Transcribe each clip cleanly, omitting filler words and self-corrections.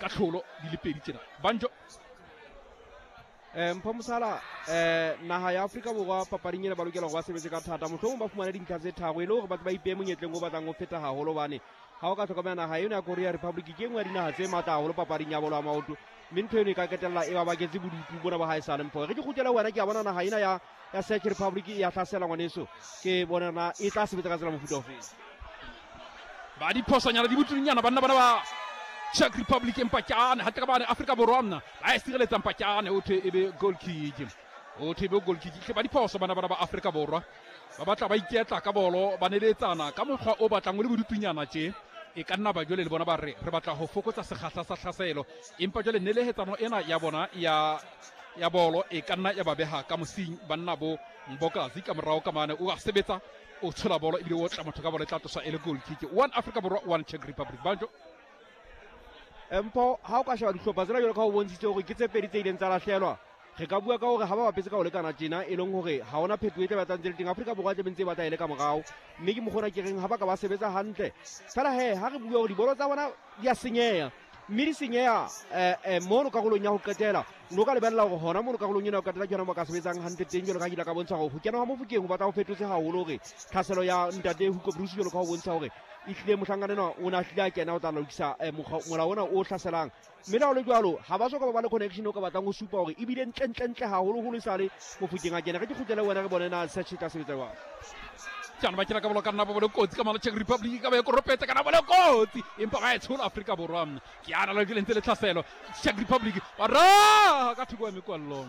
Ka tlholo di le pedi tjena. Banjo. Mpho Mosala, naha ya Afrika Borwa papading ena ba lokela hore ba sebetse ka thata, mohlomong ba fumane dintlha tse tharo e le hore ba ba ipehe monyetleng o batlang ho feta haholo, hobane ha o ka hlokomela naha eno ya Korea Republic ke e nngwe ya dinaha tse matla haholo papading ya bolo ya maoto, mme ntho eno e ka qetella e ba baketse bodutu bona ba haesale. Mpho, re ke kgutlele ho wena, ke a bona naha ena ya Czech Republic e ya hlasela ngwaneso, ke bona na e tla sebetsa ka tsela mofuta ofeng. Ba diphosonyana di botunyana banna bana ba Czech Republic, empa kyane hantle ka bane Afrika Borwa mna ba e sireletsa, mpa kyane o thwe e be goal kick, o thwe e be goal kick. Hle ba diphoso bana bana ba Afrika Borwa, ba batla ba iketla ka bolo, ba neletsana ka mokgwa o batlang o le bodutunyana tje. E ka nna ba jwale le bona ba re re batla ho fokotsa sekgahla sa tlhaselo, empa jwale nelehetsano ena ya bona ya bolo e ka nna ya ba beha ka mosing banna bo Mbokazi ka morao ka mane o a sebetsa, o tshola bolo ebile o otla motho ka bolo, e tla tloswa e le goal kick. 1 Afrika Borwa, 1 Czech Republic. Banjo. Mpho, ha o ka sheba dihlopha tsena jwalo ka ho bontshitse hore ke tse pedi tse ileng tsa lahlelwa, re ka bua ka hore ha ba bapetse ka ho lekana tjena, e leng hore ha hona phetoho e tla batlang tse le teng. Afrika Borwa tla be ntse e batla e le ka morao, mme ke mokgona ke reng ha ba ka ba sebetsa hantle fela he ha re bua hore dibolo tsa bona di a senyeha, mme di senyeha mono karolong ya ho qetela. O no ka lebella hore hona mono karolong ena ya ho qetela ke yona mo ka sebetsang hantle teng, jwalo ka ha ke ile ka bontsha hore ho kena ha Mofokeng ho batla ho fetotse haholo hore tlhaselo ya ntate Hugo Broos, jwalo ka ho bontsha hore ehlile mohlankana enwa o ne a hlile a kena o tla lokisa molao ona o hlaselang. Mme le ha ho le jwalo, ha ba soka ba ba le connection o ka batlang ho supa hore ebile ntle ntle ntle haholoholo e sale Mofokeng a kena. Re ke kgutlele wena re bone na search e tla sebetsa jwang. Jana ba kena ka bolo ka nna ba bole kotsi ka mala Czech Republic ka ba e koropetse kana bole kotsi, empa ba e tshola Afrika Borwa. Ke ana le lentse le tlhaselo Czech Republic ba ra ka thoko ya mekwallo,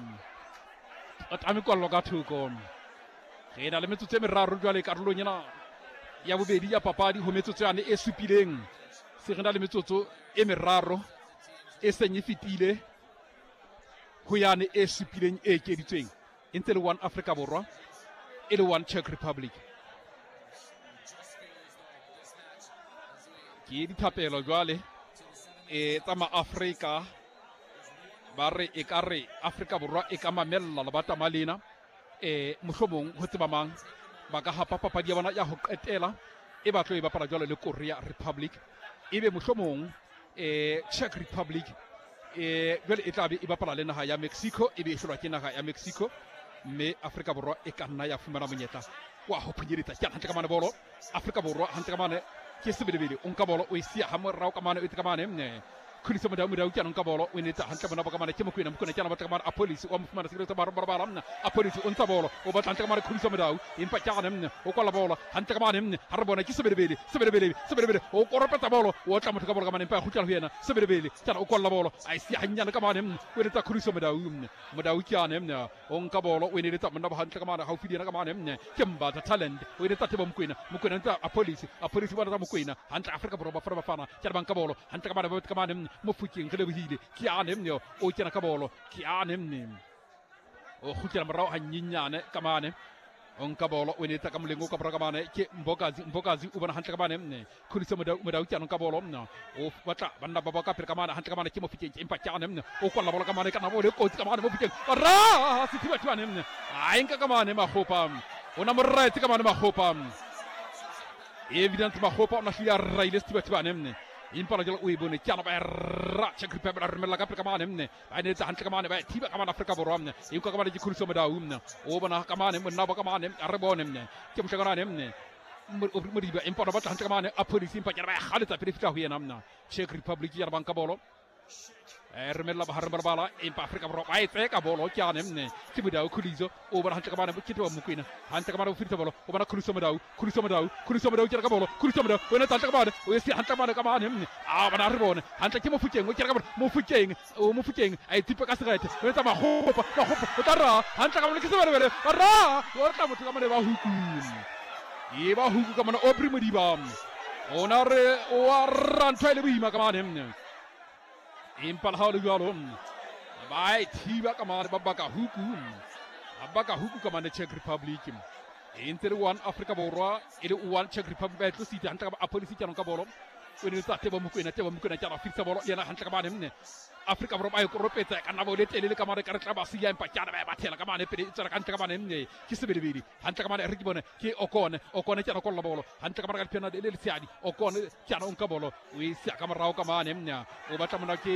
ba ta mekwallo ka thoko. Re na le metsotso e meraro jwale karolong ena ya bobedi ya papadi ho metsotso yane e supileng, se re na le metsotso e meraro e seng e fetile ho yane e supileng e ekeditsweng, e ntse le 1 Afrika Borwa e le 1 Czech Republic. Ke dithapelo jwale e tsa maAfrika, ba re e ka re Afrika Borwa e ka mamella lebatama lena, mohlomong ho tseba mang ba ka hapa papadi ya bona ya ho qetela e ba tlo e bapala jwalo le Korea Republic, ebe mohlomong Czech Republic jwale e tla be e bapala le naha ya Mexico, ebe e hlolwa ke naha ya Mexico, mme Afrika Borwa e ka nna ya fumana monyetla wa ho phunyeletsa. Ke hantle ka mane bolo Afrika Borwa, hantle ka mane ke Sebelebele, o nka bolo o e siya ha morao ka mane, o etse ka mane Khuliso Modau, Modau ke nka bolo o e netsa hantle bona ba ka mane ke Mokwena, Mokwena ke ana batla ka mane Apolisi wa mo fumana sireletsa ba robala mna Apolisi o ntsha bolo o batla hantle ka mane Khuliso Modau, empa ke ane mna o kwala bolo hantle ka mane mna ha re bona ke Sebelebele, Sebelebele, Sebelebele o koropetsa bolo o otla motho ka bolo ka mane, empa ya kgutlela ho yena Sebelebele ke ana o kwalla bolo a e siya hannyane ka mane mna o eletsa Khuliso Modau mna Modau ke ane mna o nka bolo o eneletsa monna ba hantle ka mane haufi le yena ka mane mne ke Mbatha Talent o eletsa Thebo Mokwena, Mokwena ntse Apolisi, Apolisi ba Mokwena hantle Afrika Borwa Bafana Bafana ke ba nka bolo hantle ka mane ba ka mane Mofokeng re lebohile ke ane mne o kena ka bolo ke ane mne o kgutlela morao hanyenyane ka mane o nka bolo o enetsa ka moleng o ka borwa ka mane ke Mbokazi, Mbokazi o bona hantle ka mane mne Khuliso Modau, Modau ke anong ka bolo mna o batla banna ba ba ka pele ka mane hantle ka mane ke Mofokeng, empa ke ane mne o kwalla bolo ka mane ka nabo le kotsi ka mane Mofokeng ra sethibathibane mne a enka ka mane Makgopa o na moraetse ka mane Makgopa Evidence Makgopa o na hlile a raile sethibathibane mne empa la jalo o e bone ke ana ba ra Czech Republic ba romella ka pele ka mane mne ba netsa hantle ka mane ba thiba ka mane Afrika Borwa mne e utlwa ka mane ke Khuliso Modau mne o bona ka mane monna ba ka mane a re bone mne ke mohlakanane mne Modiba empa ba batla hantle ka mane a police empa ke ba galetsa pele fitla ho yena mna Czech Republic ya banka bolo romella bohareng ba lebala empa Afrika Borwa ba e tseka bolo ke ane mne ke Modau Khuliso o bona hantle ka mane ke Thebo Mokwena hantle ka mane o fetisa bolo o bona Khuliso Modau, Khuliso Modau, Khuliso Modau ke ka bolo Khuliso Modau o etsa hantle ka mane o e se hantle mane ka mane mne a bona re bone hantle ke Mofokeng o kena ka bolo Mofokeng o Mofokeng a e tsipa ka serethe o etsa Makgopa, Makgopa o tla ra hantle ka mane ke Sebelebele ba ra o tla motho ka mane ba huku e ba huku ka mane Aubrey Modiba o na re o a ra ntho e le boima ka mane mne empa le ha o le jwalo ba e thiba ka mane ba baka huku ba baka huku ka mane Czech Republic e ntse le 1 Afrika Borwa e le 1 Czech Republic ba e tlositse hantle ka Apolisi ke ka bolo o ne tsa Tebo Mokwena, Tebo Mokwena ke a fitsa bolo le yena hantle ka mane mne Afrika Borwa ba e koropetsa ka nabo le telele ka mane ka re tla ba siya empa ke ana ba e bathela ka mane pele e tswela ka ntle ka mane mne ke Sebelebele hantle ka mane re ke bone ke Okone, Okone ke ana kolla bolo hantle ka mane ka diphena le letshehadi Okone ke ana o nka bolo o e siya ka morao ka mane mne o batla mona ke